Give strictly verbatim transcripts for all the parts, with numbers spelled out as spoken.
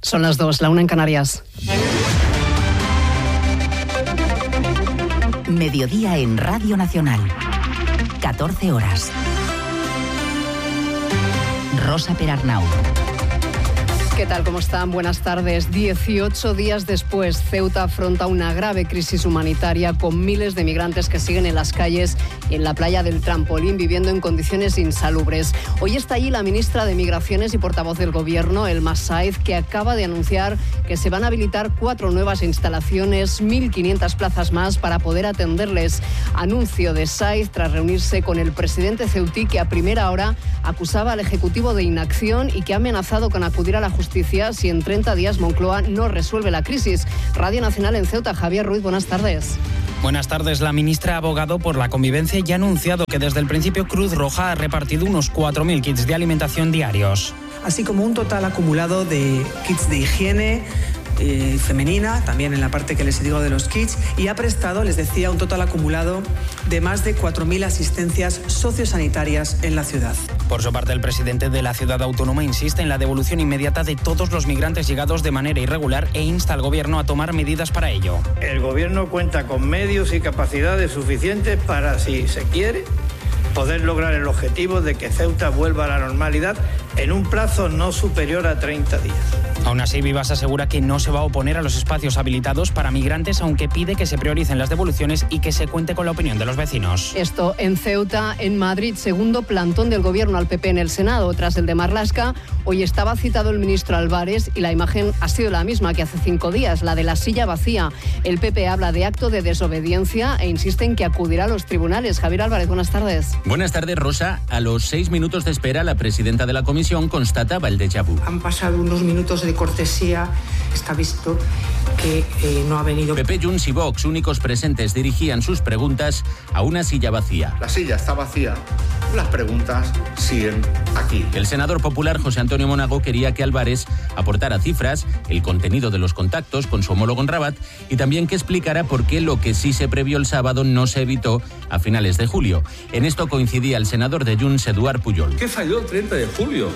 Son las dos, la una en Canarias. Mediodía en Radio Nacional. catorce horas. Rosa Perarnau. ¿Qué tal? ¿Cómo están? Buenas tardes. dieciocho días después, Ceuta afronta una grave crisis humanitaria con miles de migrantes que siguen en las calles y en la playa del Trampolín viviendo en condiciones insalubres. Hoy está allí la ministra de Migraciones y portavoz del Gobierno, Elma Saez, que acaba de anunciar que se van a habilitar cuatro nuevas instalaciones, mil quinientas plazas más para poder atenderles. Anuncio de Saez tras reunirse con el presidente ceutí, que a primera hora acusaba al Ejecutivo de inacción y que ha amenazado con acudir a la justicia si en treinta días Moncloa no resuelve la crisis. Radio Nacional en Ceuta, Javier Ruiz, buenas tardes. Buenas tardes. La ministra ha abogado por la convivencia y ha anunciado que desde el principio Cruz Roja ha repartido unos cuatro mil kits de alimentación diarios. Así como un total acumulado de kits de higiene eh, femenina, también en la parte que les digo de los kits, y ha prestado, les decía, un total acumulado de más de cuatro mil asistencias sociosanitarias en la ciudad. Por su parte, el presidente de la ciudad autónoma insiste en la devolución inmediata de todos los migrantes llegados de manera irregular e insta al gobierno a tomar medidas para ello. El gobierno cuenta con medios y capacidades suficientes para, si se quiere, poder lograr el objetivo de que Ceuta vuelva a la normalidad en un plazo no superior a treinta días. Aún así, Vivas asegura que no se va a oponer a los espacios habilitados para migrantes, aunque pide que se prioricen las devoluciones y que se cuente con la opinión de los vecinos. Esto en Ceuta. En Madrid, segundo plantón del gobierno al P P en el Senado. Tras el de Marlaska, hoy estaba citado el ministro Álvarez y la imagen ha sido la misma que hace cinco días, la de la silla vacía. El P P habla de acto de desobediencia e insiste en que acudirá a los tribunales. Javier Álvarez, buenas tardes. Buenas tardes, Rosa. A los seis minutos de espera, la presidenta de la comisión constataba el déjà vu. Han pasado unos minutos de cortesía. Está visto que eh, no ha venido. P P, Junts y Vox, únicos presentes, dirigían sus preguntas a una silla vacía. La silla está vacía, las preguntas siguen aquí. El senador popular José Antonio Monago quería que Álvarez aportara cifras, el contenido de los contactos con su homólogo en Rabat y también que explicara por qué lo que sí se previó el sábado no se evitó a finales de julio. En esto coincidía el senador de Junts, Eduard Pujol. ¿Qué falló el treinta de julio?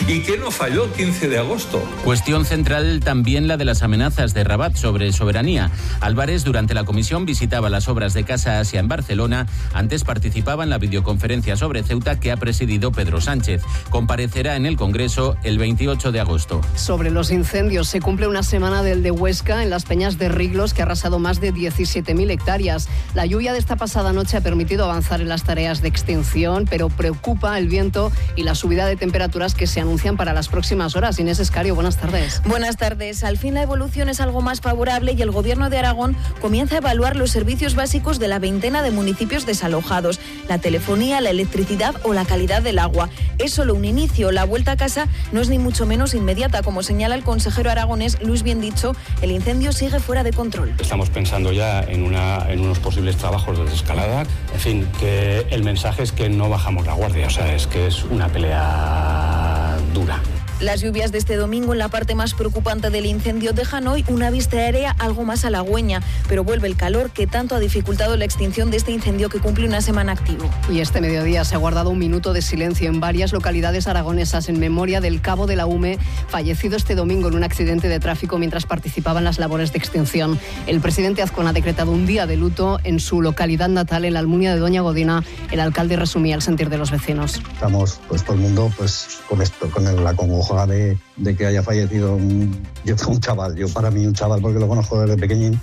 ¿Y qué no falló el quince de agosto? Cuestión central también la de las amenazas de Rabat sobre soberanía. Álvarez durante la comisión visitaba las obras de Casa Asia en Barcelona. Antes participaba en la videoconferencia sobre Ceuta que ha presidido Pedro Sánchez. Comparecerá en el Congreso el veintiocho de agosto. Sobre los incendios, se cumple una semana del de Huesca en las Peñas de Riglos, que ha arrasado más de diecisiete mil hectáreas. La lluvia de esta pasada noche ha permitido avanzar en las tareas de extinción, pero preocupa el viento y la subida de temperaturas que se anuncian para las próximas horas. Inés Escario, buenas tardes. Buenas tardes. Al fin la evolución es algo más favorable y el Gobierno de Aragón comienza a evaluar los servicios básicos de la veintena de municipios desalojados, la telefonía, la electricidad o la calidad del agua. Es solo un inicio. La vuelta a casa no es ni mucho menos inmediata. Como señala el consejero aragonés Luis Biendicho, el incendio sigue fuera de control. Estamos pensando ya en, una, en unos posibles trabajos de desescalada. En fin, que el mensaje es que no bajamos la guardia. O sea, es que es una pelea dura. Las lluvias de este domingo en la parte más preocupante del incendio dejan hoy una vista aérea algo más halagüeña, pero vuelve el calor que tanto ha dificultado la extinción de este incendio que cumple una semana activo. Y este mediodía se ha guardado un minuto de silencio en varias localidades aragonesas en memoria del cabo de la UME, fallecido este domingo en un accidente de tráfico mientras participaba en las labores de extinción. El presidente Azcón ha decretado un día de luto en su localidad natal, en la Almunia de Doña Godina. El alcalde resumía el sentir de los vecinos. Estamos, pues todo el mundo, pues con esto, con el, la congoja De, de que haya fallecido un, yo, un chaval, yo para mí un chaval porque lo conozco desde pequeñín,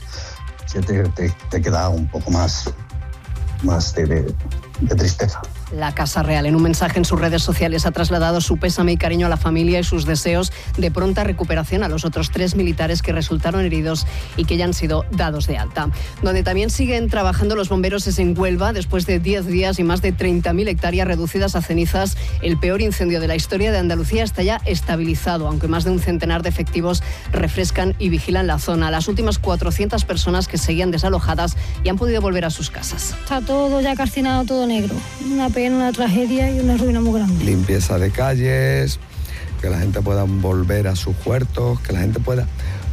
te, te, te queda un poco más, más de, de, de tristeza. La Casa Real, en un mensaje en sus redes sociales, ha trasladado su pésame y cariño a la familia y sus deseos de pronta recuperación a los otros tres militares que resultaron heridos y que ya han sido dados de alta. Donde también siguen trabajando los bomberos es en Huelva. Después de diez días y más de treinta mil hectáreas reducidas a cenizas, el peor incendio de la historia de Andalucía está ya estabilizado, aunque más de un centenar de efectivos refrescan y vigilan la zona. Las últimas cuatrocientas personas que seguían desalojadas ya han podido volver a sus casas. Está todo ya calcinado, todo negro. Una pena, una tragedia y una ruina muy grande. Limpieza de calles, que la gente pueda volver a sus huertos, que la gente pueda,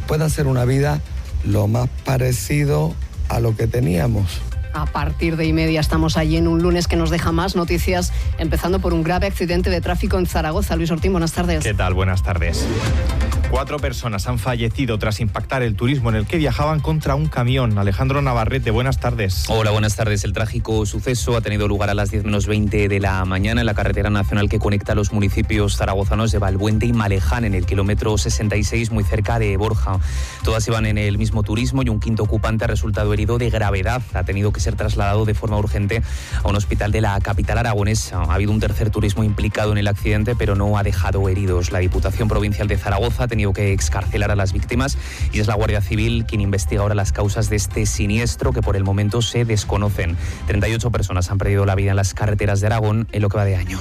pueda hacer una vida lo más parecido a lo que teníamos. A partir de y media estamos allí en un lunes que nos deja más noticias, empezando por un grave accidente de tráfico en Zaragoza. Luis Ortín, buenas tardes. ¿Qué tal? Buenas tardes. Cuatro personas han fallecido tras impactar el turismo en el que viajaban contra un camión. Alejandro Navarrete, buenas tardes. Hola, buenas tardes. El trágico suceso ha tenido lugar a las diez menos veinte de la mañana en la carretera nacional que conecta los municipios zaragozanos de Valbuente y Maleján, en el kilómetro sesenta y seis, muy cerca de Borja. Todas iban en el mismo turismo y un quinto ocupante ha resultado herido de gravedad. Ha tenido que ser trasladado de forma urgente a un hospital de la capital aragonesa. Ha habido un tercer turismo implicado en el accidente, pero no ha dejado heridos. La Diputación Provincial de Zaragoza ha tenido que excarcelar a las víctimas y es la Guardia Civil quien investiga ahora las causas de este siniestro, que por el momento se desconocen. treinta y ocho personas han perdido la vida en las carreteras de Aragón en lo que va de año.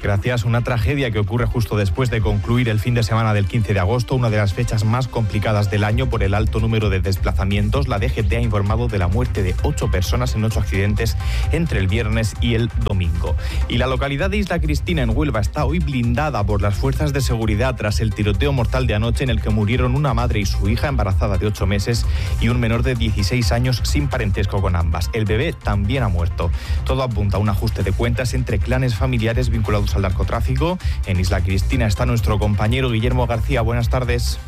Gracias. Una tragedia que ocurre justo después de concluir el fin de semana del quince de agosto, una de las fechas más complicadas del año por el alto número de desplazamientos. La D G T ha informado de la muerte de ocho personas en ocho accidentes entre el viernes y el domingo. Y la localidad de Isla Cristina, en Huelva, está hoy blindada por las fuerzas de seguridad tras el tiroteo mortal de anoche en el que murieron una madre y su hija embarazada de ocho meses y un menor de dieciséis años sin parentesco con ambas. El bebé también ha muerto. Todo apunta a un ajuste de cuentas entre clanes familiares vinculados al narcotráfico. En Isla Cristina está nuestro compañero Guillermo García. Buenas tardes.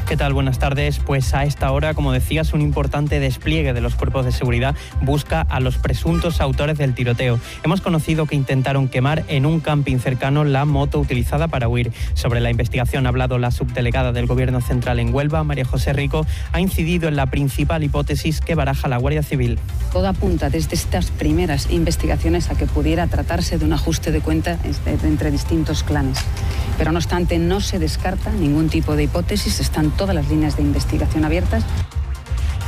¿Qué tal? Buenas tardes. Pues a esta hora, como decías, un importante despliegue de los cuerpos de seguridad busca a los presuntos autores del tiroteo. Hemos conocido que intentaron quemar en un camping cercano la moto utilizada para huir. Sobre la investigación ha hablado la subdelegada del Gobierno Central en Huelva, María José Rico. Ha incidido en la principal hipótesis que baraja la Guardia Civil. Todo apunta desde estas primeras investigaciones a que pudiera tratarse de un ajuste de cuenta entre distintos clanes. Pero no obstante, no se descarta ningún tipo de hipótesis. Están todas las líneas de investigación abiertas.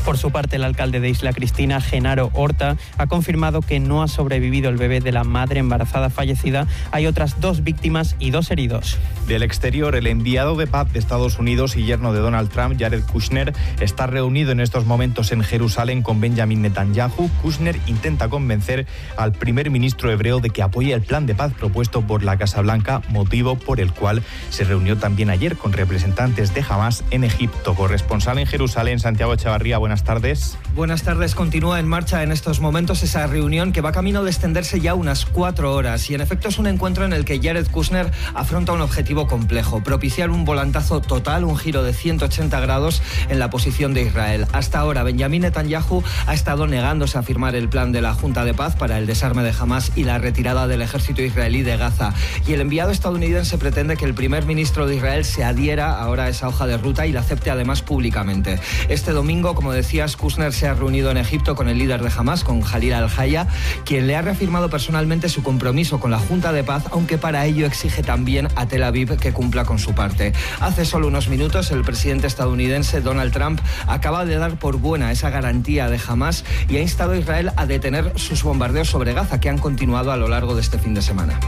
Por su parte, el alcalde de Isla Cristina, Genaro Horta, ha confirmado que no ha sobrevivido el bebé de la madre embarazada fallecida. Hay otras dos víctimas y dos heridos. Del exterior, el enviado de paz de Estados Unidos y yerno de Donald Trump, Jared Kushner, está reunido en estos momentos en Jerusalén con Benjamin Netanyahu. Kushner intenta convencer al primer ministro hebreo de que apoye el plan de paz propuesto por la Casa Blanca, motivo por el cual se reunió también ayer con representantes de Hamás en Egipto. Corresponsal en Jerusalén, Santiago Echavarría, buenas tardes. Buenas tardes. Continúa en marcha en estos momentos esa reunión que va camino de extenderse ya unas cuatro horas y en efecto es un encuentro en el que Jared Kushner afronta un objetivo complejo: propiciar un volantazo total, un giro de ciento ochenta grados en la posición de Israel. Hasta ahora, Benjamin Netanyahu ha estado negándose a firmar el plan de la Junta de Paz para el desarme de Hamás y la retirada del ejército israelí de Gaza. Y el enviado estadounidense pretende que el primer ministro de Israel se adhiera ahora a esa hoja de ruta y la acepte además públicamente. Este domingo, como decías, Kushner se ha reunido en Egipto con el líder de Hamás, con Jalil al-Haya, quien le ha reafirmado personalmente su compromiso con la Junta de Paz, aunque para ello exige también a Tel Aviv que cumpla con su parte. Hace solo unos minutos, el presidente estadounidense Donald Trump acaba de dar por buena esa garantía de Hamás y ha instado a Israel a detener sus bombardeos sobre Gaza, que han continuado a lo largo de este fin de semana.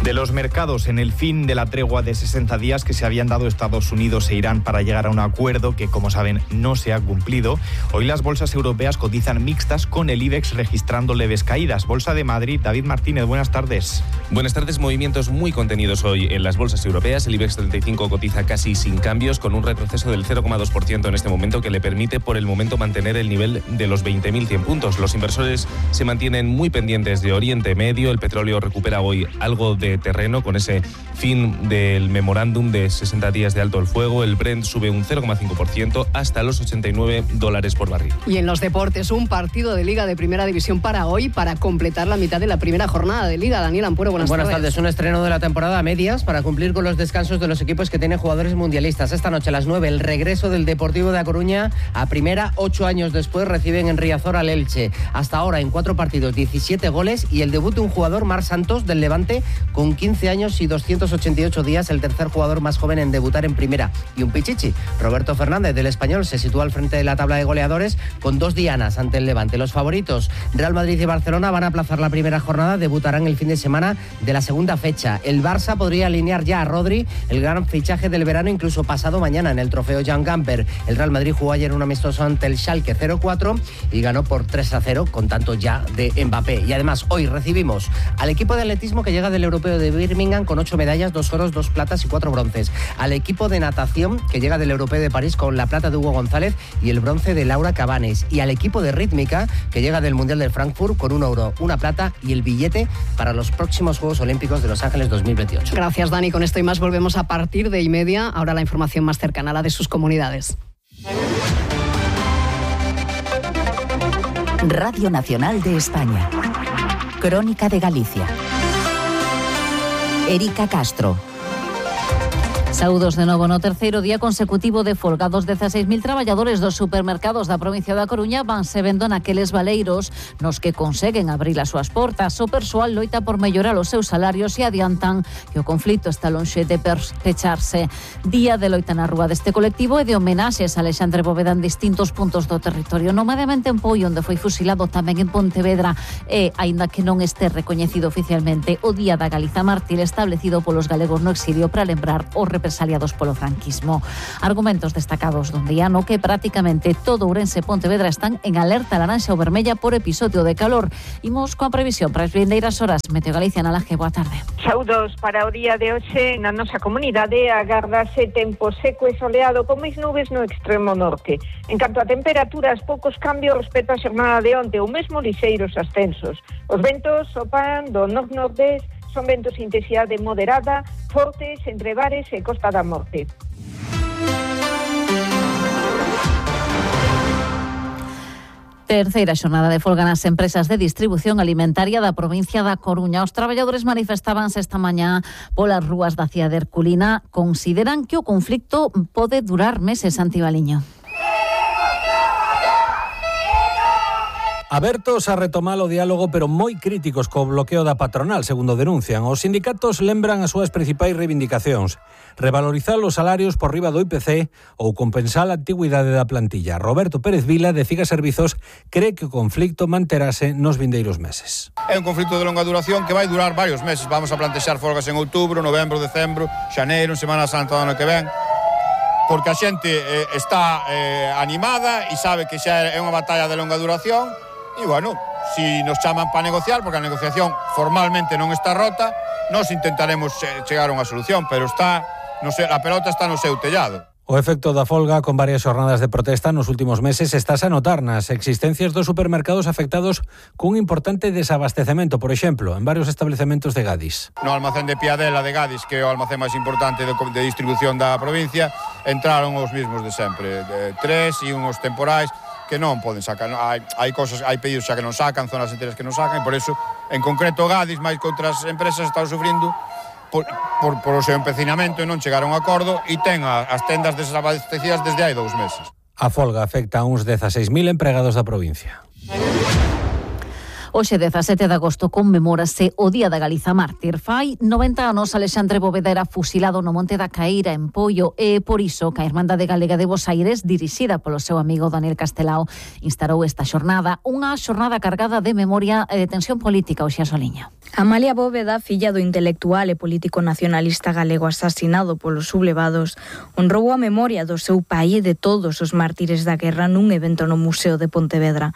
De los mercados, en el fin de la tregua de sesenta días que se habían dado Estados Unidos e Irán para llegar a un acuerdo que, como saben, no se ha cumplido, hoy las bolsas europeas cotizan mixtas, con el IBEX registrando leves caídas. Bolsa de Madrid, David Martínez, buenas tardes. Buenas tardes. Movimientos muy contenidos hoy en las bolsas europeas. El IBEX treinta y cinco cotiza casi sin cambios, con un retroceso del cero coma dos por ciento en este momento, que le permite por el momento mantener el nivel de los veinte mil cien puntos. Los inversores se mantienen muy pendientes de Oriente Medio. El petróleo recupera hoy algo de terreno con ese fin del memorándum de sesenta días de alto el fuego. El Brent sube un cero coma cinco por ciento hasta los ochenta y nueve dólares por barril. Y en los deportes, un partido de Liga de Primera División para hoy, para completar la mitad de la primera jornada de Liga. Daniel Ampuero, buenas, buenas tardes. tardes. Un estreno de la temporada a medias para cumplir con los descansos de los equipos que tienen jugadores mundialistas. Esta noche a las nueve, el regreso del Deportivo de A Coruña a primera. Ocho años después reciben en Riazor al Elche. Hasta ahora en cuatro partidos, diecisiete goles y el debut de un jugador, Marc Santos, del Levante, con quince años y doscientos ochenta y ocho días, el tercer jugador más joven en debutar en primera. Y un pichichi, Roberto Fernández, del Español, se sitúa al frente de la tabla de goleadores con dos dianas ante el Levante. Los favoritos, Real Madrid y Barcelona, van a aplazar la primera jornada, debutarán el fin de semana de la segunda fecha. El Barça podría alinear ya a Rodri, el gran fichaje del verano, incluso pasado mañana en el trofeo Jan Gamper. El Real Madrid jugó ayer un amistoso ante el Schalke cero cuatro y ganó por tres a cero con tanto ya de Mbappé. Y además hoy recibimos al equipo de atletismo que llega del Europeo de Birmingham con ocho medallas, dos oros, dos platas y cuatro bronces. Al equipo de natación que llega del Europeo de París con la plata de Hugo González y el bronce de de Laura Cabanes, y al equipo de rítmica que llega del Mundial del Frankfurt con un oro, una plata y el billete para los próximos Juegos Olímpicos de Los Ángeles dos mil veintiocho. Gracias, Dani. Con esto y más volvemos a partir de y media. Ahora la información más cercana a la de sus comunidades. Radio Nacional de España. Crónica de Galicia. Erika Castro. Saúdos de novo. No terceiro día consecutivo de folga, dos dezaseis mil traballadores dos supermercados da provincia da Coruña vanse vendo naqueles valeiros nos que conseguen abrir as súas portas. O persoal loita por mellorar os seus salarios e adiantan que o conflito está lonxe de pecharse. Día de loita na rúa deste colectivo e de homenaxes a Alexandre Bóveda en distintos puntos do territorio, nomadamente en Poio, onde foi fusilado, tamén en Pontevedra, e, aínda que non este recoñecido oficialmente, o Día da Galiza Mártir establecido polos galegos no exilio para lembrar os represaliados aliados polo franquismo. Argumentos destacados dun día no que prácticamente todo Ourense e Pontevedra están en alerta laranxa ou vermella por episodio de calor. Imos coa previsión para as vindeiras horas. Meteo Galicia, na Laje, boa tarde. Saúdos para o día de hoxe na nosa comunidade. Agardase tempo seco e soleado con máis nubes no extremo norte. En canto a temperaturas, poucos cambios respecto á xornada de onte, ou mesmo lixeiros ascensos. Os ventos sopan do nord-nordés, son ventos de intensidade moderada, fortes entre Bares e Costa da Morte. Terceira xornada de folga nas empresas de distribución alimentaria da provincia da Coruña. Os traballadores manifestábanse esta mañá polas rúas da cidade herculina. Consideran que o conflicto pode durar meses, Antibaliño. Abertos a retomar o diálogo, pero moi críticos co bloqueo da patronal, segundo denuncian. Os sindicatos lembran as súas principais reivindicacións: revalorizar os salarios por riba do I P C ou compensar a antigüidade da plantilla. Roberto Pérez Vila, de Ciga Servizos, cree que o conflicto manterase nos vindeiros meses. É un conflito de longa duración que vai durar varios meses. Vamos a plantexar folgas en outubro, novembro, decembro, xaneiro, en Semana Santa do ano que ven, porque a xente eh, está eh, animada e sabe que xa é unha batalla de longa duración. E, bueno, si nos chaman para negociar, porque a negociación formalmente non está rota, nós intentaremos chegar a unha solución, pero está, no sei, a pelota está no seu tellado. O efecto da folga con varias xornadas de protesta nos últimos meses estás a notar nas existencias dos supermercados afectados cun importante desabastecemento, por exemplo, en varios establecementos de Gadis. No almacén de Piadela de Gadis, que é o almacén máis importante de, de distribución da provincia, entraron os mismos de sempre, de tres e unhos temporais, que non poden sacar, hai, hai cosas, hai pedidos xa que non sacan, zonas enteras que non sacan, e por eso, en concreto, Gadis, máis que outras empresas, están sufrindo por, por, por o seu empecinamento e non chegaron a acordo, e ten a, as tendas desabastecidas desde hai dous meses. A folga afecta a uns dezaseis mil empregados da provincia. Hoxe, dezasete de agosto, conmemórase o Día da Galiza Mártir. Fai noventa anos Alexandre Bóveda era fusilado no Monte da Caíra, en Poio, e por iso que a Irmandade Galega de Bos Aires, dirixida polo seu amigo Daniel Castelao, instalou esta xornada, unha xornada cargada de memoria e de tensión política. Oxe, Soliña. Amalia Bóveda, filla do intelectual e político nacionalista galego asasinado polos sublevados, honrou a memoria do seu pai e de todos os mártires da guerra nun evento no Museo de Pontevedra.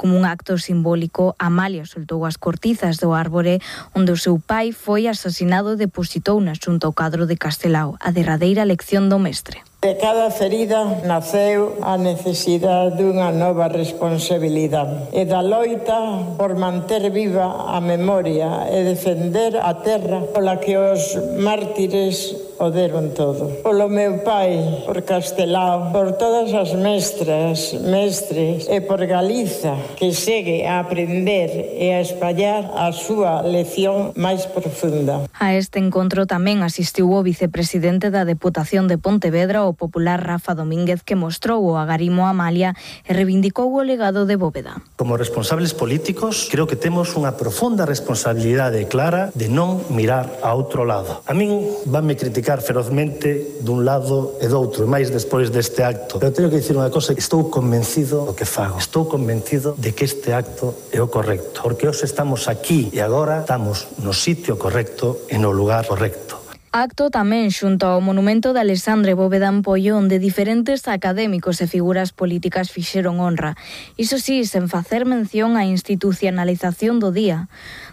Como un acto simbólico, Amalia soltou as cortizas do árbore onde o seu pai foi asasinado e depositou na xunta ao cadro de Castelao, a derradeira lección do mestre. De cada ferida naceu a necesidade dunha nova responsabilidade e da loita por manter viva a memoria e defender a terra pola que os mártires o deron todo. Polo meu pai, por Castelao, por todas as mestras, mestres e por Galiza, que segue a aprender e a espallar a súa lección máis profunda. A este encontro tamén asistiu o vicepresidente da Deputación de Pontevedra, o popular Rafa Domínguez, que mostrou o agarimo a Amalia e reivindicou o legado de Bóveda. Como responsables políticos, creo que temos unha profunda responsabilidade clara de non mirar a outro lado. A min vanme criticar ferozmente dun lado e do outro, e máis despois deste acto. Pero teño que dicir unha cosa, estou convencido do que fago. Estou convencido de que este acto é o correcto, porque hoxe estamos aquí e agora estamos no sitio correcto e no lugar correcto. Acto tamén xunto ao monumento de Alexandre Bóveda en Poio, onde diferentes académicos e figuras políticas fixeron honra. Iso sí, sen facer mención á institucionalización do día.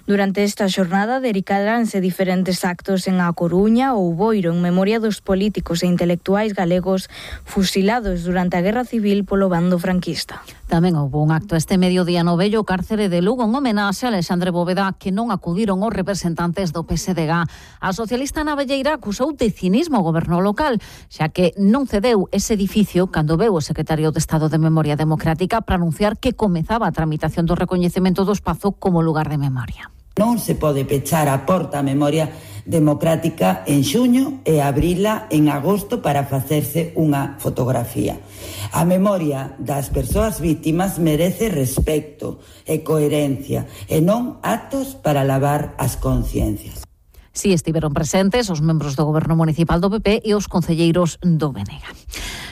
Durante esta xornada dedicaranse diferentes actos en A Coruña ou Boiro en memoria dos políticos e intelectuais galegos fusilados durante a Guerra Civil polo bando franquista. Tamén houve un acto este mediodía no vello cárcere de Lugo en homenaxe a Alexandre Bóveda, que non acudiron os representantes do P S D G. A socialista Navelleira acusou de cinismo o goberno local, xa que non cedeu ese edificio cando veu o secretario de Estado de Memoria Democrática para anunciar que comezaba a tramitación do recoñecemento do espazo como lugar de memoria. Non se pode pechar a porta a memoria democrática en xuño e abrila en agosto para facerse unha fotografía. A memoria das persoas vítimas merece respecto e coherencia e non actos para lavar as conciencias. Si estiveron presentes os membros do Goberno Municipal do P P e os concelleiros do B N G.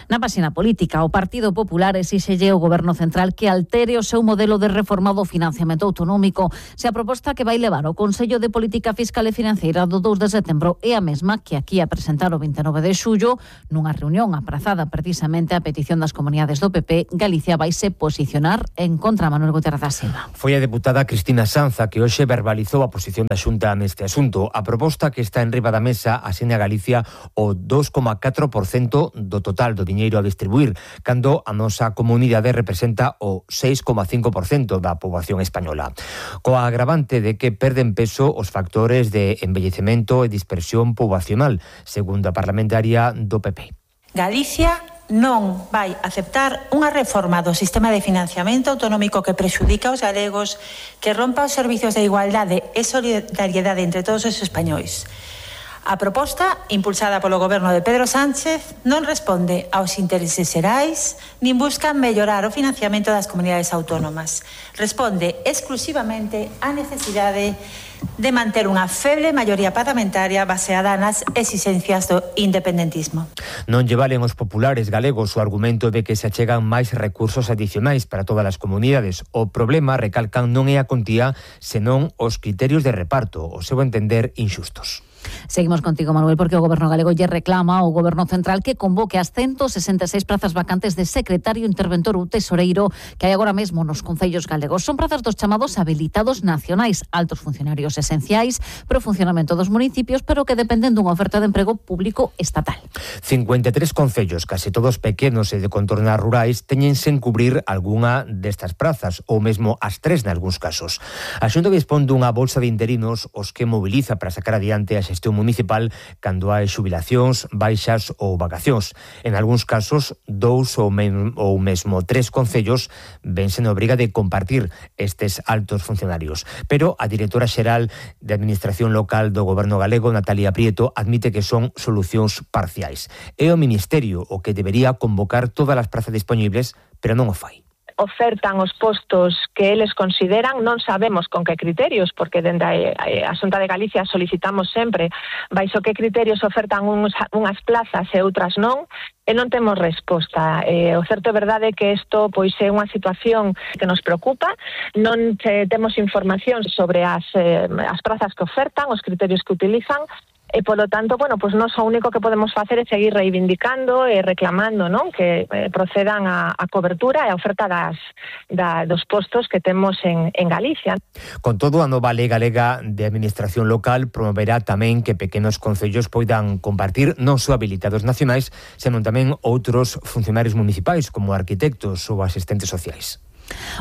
Na páxina política, o Partido Popular exíxelle ao Goberno Central que altere o seu modelo de reforma do financiamento autonómico. Se a proposta que vai levar o Consello de Política Fiscal e Financeira do dous de setembro é a mesma que aquí a presentar o vinte e nove de xullo, nunha reunión aprazada precisamente a petición das comunidades do P P, Galicia vaise posicionar en contra. Manuel Gutiérrez da Silva. Foi a deputada Cristina Sanza que hoxe verbalizou a posición da Xunta neste asunto. A proposta que está en riba da mesa asina a Galicia o dos coma catro por cento do total do diñeiro a distribuir, cando a nosa comunidade representa o seis coma cinco por cento da poboación española. Coa agravante de que perden peso os factores de envellecemento e dispersión poboacional, segundo a parlamentaria do P P. Galicia non vai aceptar unha reforma do sistema de financiamento autonómico que prexudica aos galegos, que rompa os servizos de igualdade e solidariedade entre todos os españois. A proposta, impulsada polo goberno de Pedro Sánchez, non responde aos intereses xerais nin busca mellorar o financiamento das comunidades autónomas. Responde exclusivamente á necesidade de manter unha feble maioría parlamentaria baseada nas exigencias do independentismo. Non lle valen os populares galegos o argumento de que se achegan máis recursos adicionais para todas as comunidades. O problema, recalcan, non é a contía, senón os criterios de reparto, o seu entender inxustos. Seguimos contigo, Manuel, porque o Goberno galego lle reclama ao Goberno central que convoque as ciento sesenta e seis prazas vacantes de secretario, interventor ou tesoreiro que hai agora mesmo nos concellos galegos. Son prazas dos chamados habilitados nacionais, altos funcionarios esenciais para o funcionamento dos municipios, pero que dependen dunha oferta de emprego público estatal. cincuenta e tres concellos, case todos pequenos e de contornas rurais, teñense en cubrir algunha destas prazas, ou mesmo as tres nalgúns casos. A Xunta dispón dunha bolsa de interinos os que moviliza para sacar adiante a xestión municipal cando hai xubilacións, baixas ou vacacións. En algúns casos, dous ou, men, ou mesmo tres concellos vense na obriga de compartir estes altos funcionarios. Pero a directora xeral de Administración Local do Goberno galego, Natalia Prieto, admite que son solucións parciais. É o Ministerio o que debería convocar todas as prazas disponibles, pero non o fai. Ofertan os postos que eles consideran, non sabemos con que criterios, porque dende a Xunta de Galicia solicitamos sempre baixo que criterios ofertan uns, unhas plazas e outras non, e non temos resposta. Eh, o certo é verdade que isto pois é unha situación que nos preocupa, non te, temos información sobre as, eh, as prazas que ofertan, os criterios que utilizan, e polo tanto, bueno, pois nós o único que podemos facer é seguir reivindicando e reclamando, non, que eh, procedan a, a cobertura e a oferta das, da, dos postos que temos en, en Galicia. Con todo, a nova Lei Galega de Administración Local promoverá tamén que pequenos concellos poidan compartir non só habilitados nacionais, senón tamén outros funcionarios municipais como arquitectos ou asistentes sociais.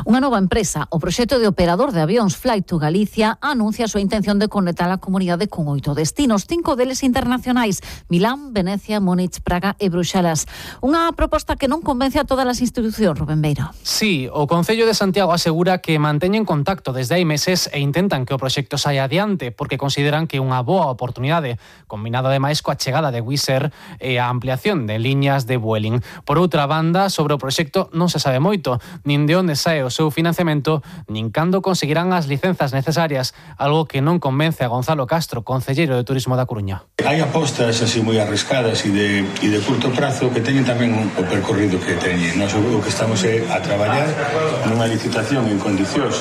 Unha nova empresa, o proxecto de operador de avións Flight to Galicia, anuncia a súa intención de conectar a comunidade con oito destinos, cinco deles internacionais: Milán, Venecia, Múnich, Praga e Bruxelas. Unha proposta que non convence a todas as institucións, Rubén Beiro. Sí, o Concello de Santiago asegura que manteñen contacto desde hai meses e intentan que o proxecto saia adiante porque consideran que é unha boa oportunidade, combinado ademais coa chegada de Wizz Air e a ampliación de liñas de Vueling. Por outra banda, sobre o proxecto non se sabe moito, nin de onde sae o seu financiamento, nin cando conseguirán as licenzas necesarias, algo que non convence a Gonzalo Castro, concelleiro de Turismo da Coruña. Hai apostas así moi arriscadas e de, e de curto prazo que teñen tamén o percorrido que teñen. Nós o que estamos é a traballar nunha licitación en condicións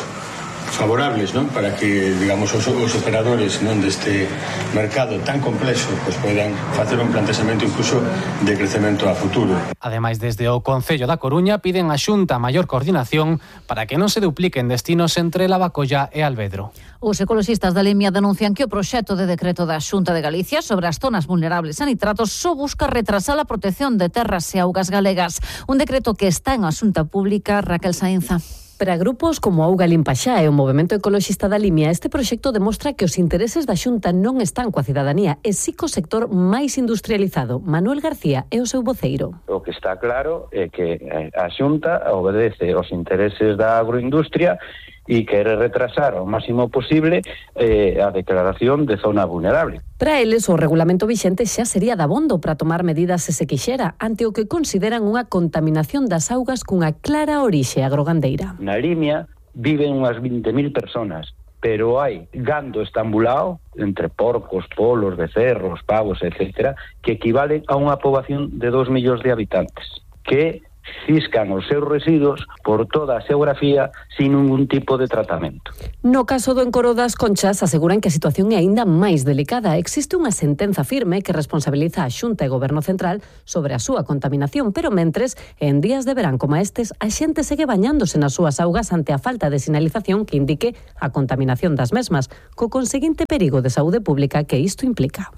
favorables, non? Para que, digamos, os, os operadores, non, deste mercado tan complexo, pues poidan facer un planteamento incluso de crecemento a futuro. Ademais, desde o Concello da Coruña piden a Xunta maior coordinación para que non se dupliquen destinos entre Lavacolla e Alvedro. Os ecoloxistas da Limia denuncian que o proxecto de decreto da Xunta de Galicia sobre as zonas vulnerables a nitratos só busca retrasar a protección de terras e augas galegas. Un decreto que está en asunta pública. Raquel Sainza. Para grupos como Auga Limpaxá e o Movemento Ecoloxista da Limia, este proxecto demostra que os intereses da Xunta non están coa cidadanía, e si co sector máis industrializado. Manuel García é o seu voceiro. O que está claro é que a Xunta obedece os intereses da agroindustria e quere retrasar ao máximo posible eh, a declaración de zona vulnerable. Para eles, o regulamento vixente xa sería dabondo para tomar medidas se se quixera, ante o que consideran unha contaminación das augas cunha clara orixe agrogandeira. Na Limia viven unhas vinte mil personas, pero hai gando estambulado entre porcos, polos, becerros, pavos, etcétera, que equivalen a unha poboación de dos millóns de habitantes, que ciscan os seus residuos por toda a xeografía sin ningún tipo de tratamento. No caso do Encoro das Conchas, aseguran que a situación é aínda máis delicada. Existe unha sentenza firme que responsabiliza a Xunta e Goberno Central sobre a súa contaminación, pero mentres, en días de verán como estes, a xente segue bañándose nas súas augas ante a falta de sinalización que indique a contaminación das mesmas, co conseguinte perigo de saúde pública que isto implica.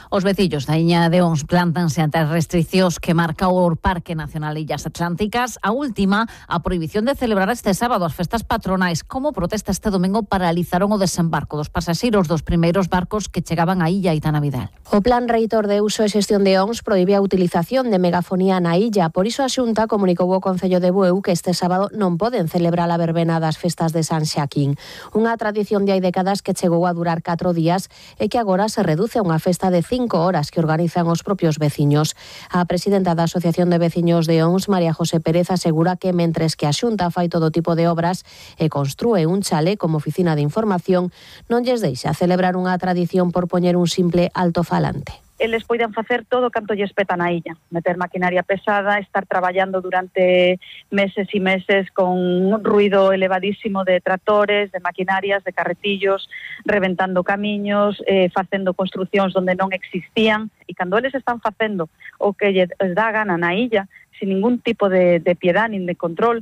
Os veciños da Iña de Ons plántanse ante as restriccións que marca o Parque Nacional Illas Atlánticas. A última, a prohibición de celebrar este sábado as festas patronais. Como protesta este domingo paralizaron o desembarco dos pasaxeiros dos primeiros barcos que chegaban á illa Aitana Vidal. O Plan Reitor de Uso e Xestión de Ons prohibe a utilización de megafonía na illa. Por iso a Xunta comunicou ao Concello de Bueu que este sábado non poden celebrar a verbena das festas de San Xaquín. Unha tradición de hai décadas que chegou a durar catro días e que agora se reduce a unha festa de cinco horas que organizan os propios veciños. A presidenta da Asociación de Veciños de Ons, María José Pérez, asegura que mentres que a Xunta fai todo tipo de obras e construe un chalé como oficina de información, non lles deixa celebrar unha tradición por poñer un simple altofalante. Eles poidan facer todo canto lles peta na illa, meter maquinaria pesada, estar traballando durante meses e meses con un ruido elevadísimo de tractores, de maquinarias, de carretillos, reventando camiños, eh, facendo construcións onde non existían, e cando eles están facendo o que lles dá gana na illa, sin ningún tipo de, de piedad nin de control,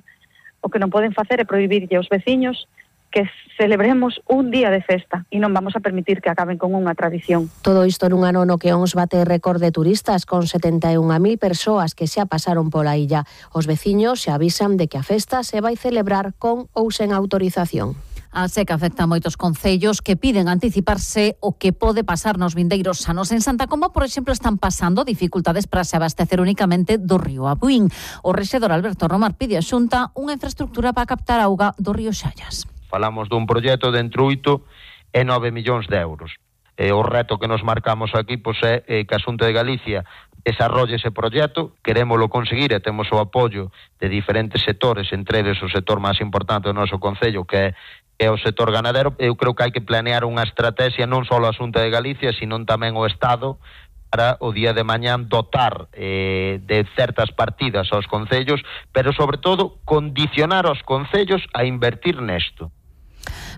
o que non poden facer é prohibirlle aos veciños que celebremos un día de festa e non vamos a permitir que acaben con unha tradición. Todo isto nun ano no que Ons bate récord de turistas con setenta e unha mil persoas que xa pasaron pola illa. Os veciños se avisan de que a festa se vai celebrar con ou sen autorización. A seca afecta a moitos concellos que piden anticiparse o que pode pasar nos vindeiros anos. En Santa Comba, por exemplo, están pasando dificultades para se abastecer únicamente do río Abuín. O rexedor Alberto Romar pide a Xunta unha infraestructura para captar auga do río Xallas. Falamos dun proxecto de entre oito e nove millóns de euros. E o reto que nos marcamos aquí pois, é que a Xunta de Galicia desarrolle ese proxecto, querémolo conseguir e temos o apoio de diferentes sectores, entre eles o sector máis importante do noso concello, que é, é o sector ganadero. Eu creo que hai que planear unha estrategia non só a Xunta de Galicia, sino tamén o Estado, para o día de mañán dotar eh, de certas partidas aos concellos, pero sobre todo condicionar aos concellos a invertir nesto.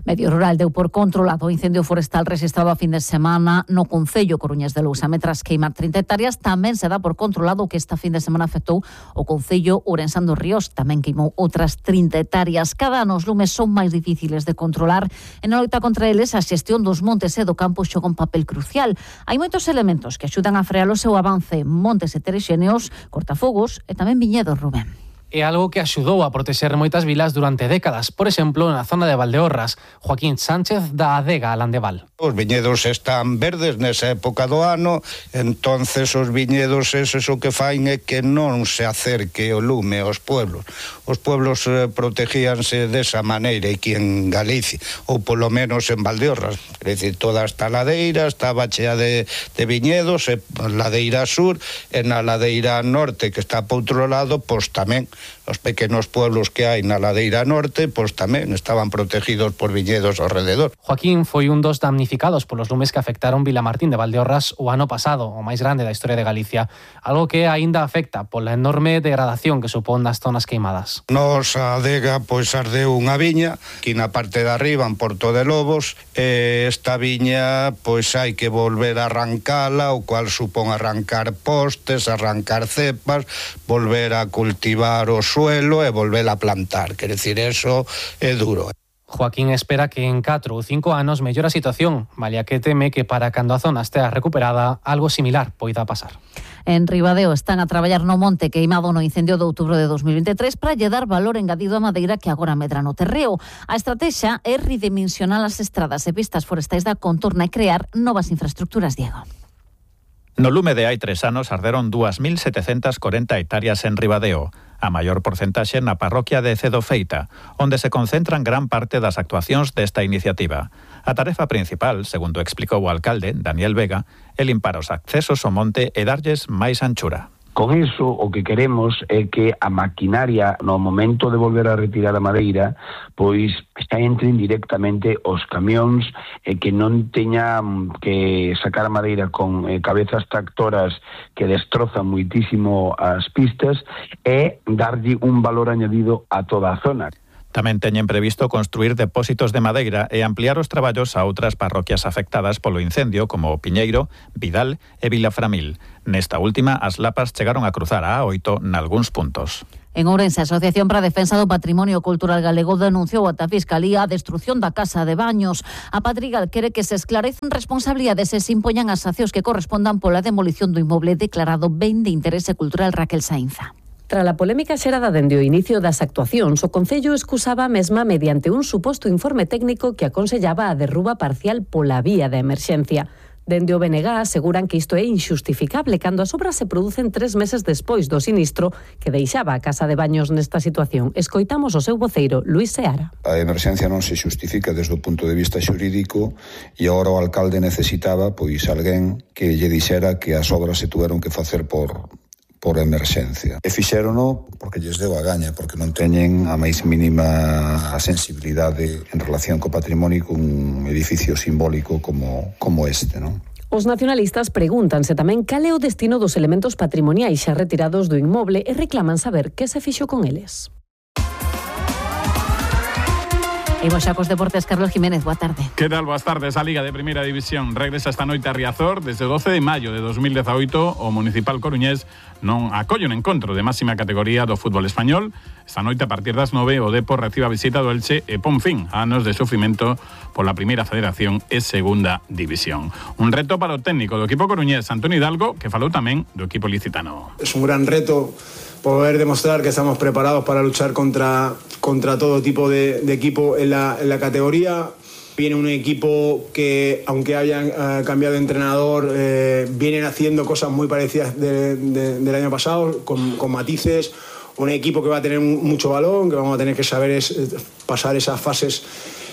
Medio Rural deu por controlado o incendio forestal registrado a fin de semana no concello Coruñés de Lousa. Metras queimar trinta hectáreas, tamén se dá por controlado que esta fin de semana afectou o concello Ourensán dos Ríos, tamén queimou outras trinta hectáreas. Cada ano os lumes son máis difíciles de controlar. En a loita contra eles, a xestión dos montes e do campo xoga un papel crucial. Hai moitos elementos que axudan a frear o seu avance: montes heterexéneos, cortafogos e tamén viñedos, Rubén. É algo que axudou a protexer moitas vilas durante décadas, por exemplo, na zona de Valdeorras. Joaquín Sánchez da Adega Landeval. Os viñedos están verdes nesa época do ano, entonces os viñedos eses o que fain é que non se acerque o lume aos pueblos. Os pueblos eh, protegíanse desa maneira aquí en Galicia, ou polo menos en Valdeorras. É dicir, toda esta ladeira estaba chea de, de viñedos, e ladeira sur, e na ladeira norte, que está por outro lado, pois tamén Os pequenos pueblos que hai na ladeira norte, pois tamén estaban protegidos por viñedos ao rededor. Joaquín foi un dos damnificados polos lumes que afectaron Vilamartín de Valdeorras o ano pasado, o máis grande da historia de Galicia, algo que aínda afecta pola enorme degradación que supón nas zonas queimadas. Nos a adega pois ardeu unha viña, aquí na parte de arriba en Porto de Lobos, e esta viña pois hai que volver a arrancala, o cual supón arrancar postes, arrancar cepas, volver a cultivar o suelo e volver a plantar, quer decir, eso é duro. Joaquín espera que en catro ou cinco anos mellore a situación, malia que teme que para cando a zona estea recuperada, algo similar poida pasar. En Ribadeo están a traballar no monte queimado no incendio de outubro de dos mil veintitrés para lle dar valor engadido a madeira que agora medra no terreo. A estrategia é redimensionar as estradas e pistas forestais da contorna e crear novas infraestructuras, Diego. No lume de hai tres anos arderon dúas mil setecentas corenta hectáreas en Ribadeo, a maior porcentaxe na parroquia de Cedofeita, onde se concentran gran parte das actuacións desta iniciativa. A tarefa principal, segundo explicou o alcalde, Daniel Vega, é limpar os accesos ao monte e darlles máis anchura. Con iso, o que queremos é que a maquinaria, no momento de volver a retirar a madeira, pois xa entren directamente os camións e que non teñan que sacar a madeira con eh, cabezas tractoras que destrozan muitísimo as pistas e darlle un valor añadido a toda a zona. Tamén teñen previsto construir depósitos de madeira e ampliar os traballos a outras parroquias afectadas polo incendio como Piñeiro, Vidal e Vilaframil. Nesta última, as lapas chegaron a cruzar a A oito nalgúns puntos. En Ourense, a Asociación para a Defensa do Patrimonio Cultural Galego denunciou ata a Fiscalía a destrución da casa de baños. A Patrigal quere que se esclarecen responsabilidades e se impoñan as sancións que correspondan pola demolición do inmoble declarado ben de interese cultural Raquel Sainza. Tras a polémica xerada dende o inicio das actuacións, o Concello excusaba a mesma mediante un suposto informe técnico que aconsellaba a derruba parcial pola vía de emerxencia. Dende o B N G aseguran que isto é inxustificable cando as obras se producen tres meses despois do sinistro que deixaba a casa de baños nesta situación. Escoitamos o seu voceiro, Luís Seara. A emerxencia non se xustifica desde o punto de vista xurídico e agora o alcalde necesitaba pois alguén que lle dixera que as obras se tuveron que facer por... por emerxencia. E fixérono porque lles deu a gaña, porque non teñen a máis mínima sensibilidade en relación co patrimonio cun edificio simbólico como, como este, non? Os nacionalistas pregúntanse tamén cal é o destino dos elementos patrimoniais xa retirados do inmoble e reclaman saber que se fixo con eles. Imos xa cos deportes, Carlos Jiménez, boa tarde. Que tal, boas tardes. A Liga de Primeira División regresa esta noite a Riazor. Desde o doce de maio de dos mil dezaoito, o Municipal Coruñés non acolle un encontro de máxima categoría do fútbol español. Esta noite, a partir das nove, o Depor recibe a visita do Elche e pon fin a anos de sufrimento pola Primeira Federación e Segunda División. Un reto para o técnico do equipo coruñés, Antonio Hidalgo, que falou tamén do equipo licitano. Es un gran reto poder demostrar que estamos preparados para luchar contra, contra todo tipo de, de equipo en la, en la categoría. Viene un equipo que, aunque hayan uh, cambiado de entrenador, eh, vienen haciendo cosas muy parecidas de, de, del año pasado, con, con matices. Un equipo que va a tener mucho balón, que vamos a tener que saber es, pasar esas fases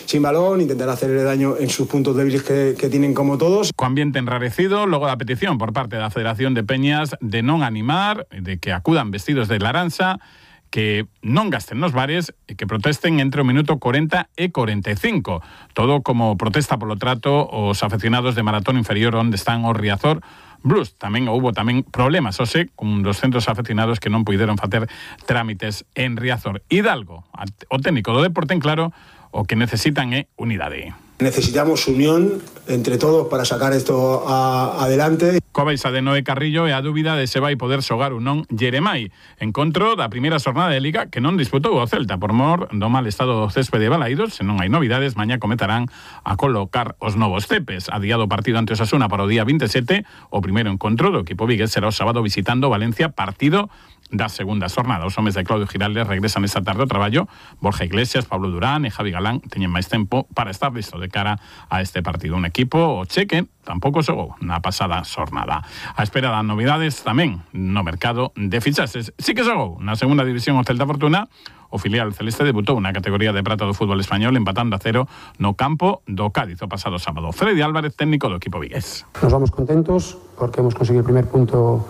sin balón, intentar hacerle daño en sus puntos débiles que, que tienen como todos. Co ambiente enrarecido, logo da petición por parte da Federación de Peñas de non animar, de que acudan vestidos de laranxa, que non gasten nos bares e que protesten entre o minuto corenta e corenta e cinco. Todo como protesta polo trato os afeccionados de Maratón Inferior onde están o Riazor Blues. Tamén houbo tamén problemas, ose, con doscientos afeccionados que non puideron facer trámites en Riazor. Hidalgo, o técnico do deporte en claro, o que necesitan é unidade. Necesitamos unión entre todos para sacar esto a, adelante. Coa baixa de Noé Carrillo e a dúbida de se vai poder xogar ou non Jeremai. Encontro da primeira xornada de Liga que non disputou o Celta por mor do mal estado do céspede de Balaídos. Se non hai novidades, mañá comezarán a colocar os novos cepes. Adiado o partido ante Osasuna para o día veintisiete, o primeiro encontro do equipo vigués será o sábado visitando Valencia, partido da segunda xornada. Os homes de Claudio Giraldes regresan esta tarde ao traballo. Borja Iglesias, Pablo Durán e Javi Galán teñen máis tempo para estar listo de cara a este partido. Un equipo, o Cheque, tampouco xogou na pasada xornada. A espera das novidades tamén no mercado de fichaxes. Sí que xogou na segunda división o Celta Fortuna. O filial celeste debutou na categoría de prata do fútbol español empatando a cero no campo do Cádiz o pasado sábado. Freddy Álvarez, técnico do equipo vigués. Nos vamos contentos porque hemos conseguido el primer punto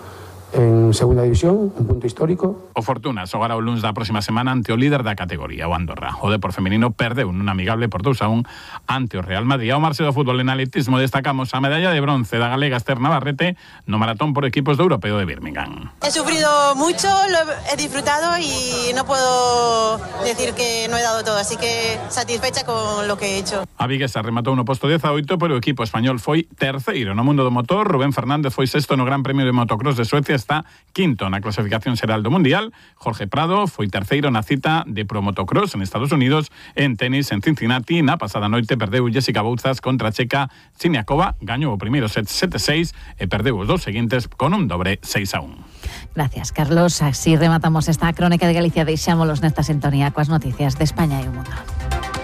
en segunda división, un punto histórico. O Fortuna xogará o luns da próxima semana ante o líder da categoría, o Andorra. O Depor femenino perdeu nun amigable por dous a un ante o Real Madrid. Ao marxe do fútbol en atletismo destacamos a medalla de bronce da galega Esther Navarrete no maratón por equipos do Europeo de Birmingham. He sufrido mucho, lo he disfrutado y no puedo decir que no he dado todo, así que satisfecha con lo que he hecho. A viguesa rematou no posto dezaoito, pero o equipo español foi terceiro no mundo do motor. Rubén Fernández foi sexto no Gran Premio de Motocross de Suecia, está quinto na clasificación xeral do Mundial. Jorge Prado foi terceiro na cita de Pro Motocross en Estados Unidos. En tenis en Cincinnati, na pasada noite perdeu Jessica Bouzas contra a checa Siniakova, gañou o primeiro set sete seis e perdeu os dous seguintes con un dobre seis a un. Gracias, Carlos. Así rematamos esta crónica de Galicia. Deixámolos nesta sintonía coas noticias de España e o mundo.